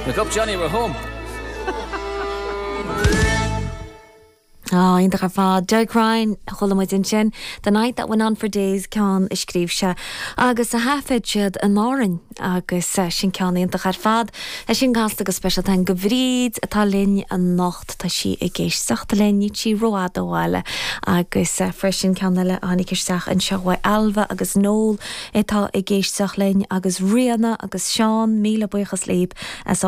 Look up Johnny, we're home. Á, iontach ar fad. Derek Ryan a chuala muid ansin, The Night That Went On For Days, ceann a scríobh sé agus a thaifead siad in Árainn agus sin ceann iontach ar fad. É sin casta go speisialta do Bhríd atá linn anocht, tá sí ag éisteacht linn, níl sí rófhada ó bhaile agus freisin ceann eile a tháinig isteach anseo uaidh Ailbhe agus Noel atá ag éisteacht linn agus Ríona agus Seán, míle buíochas libh as ucht.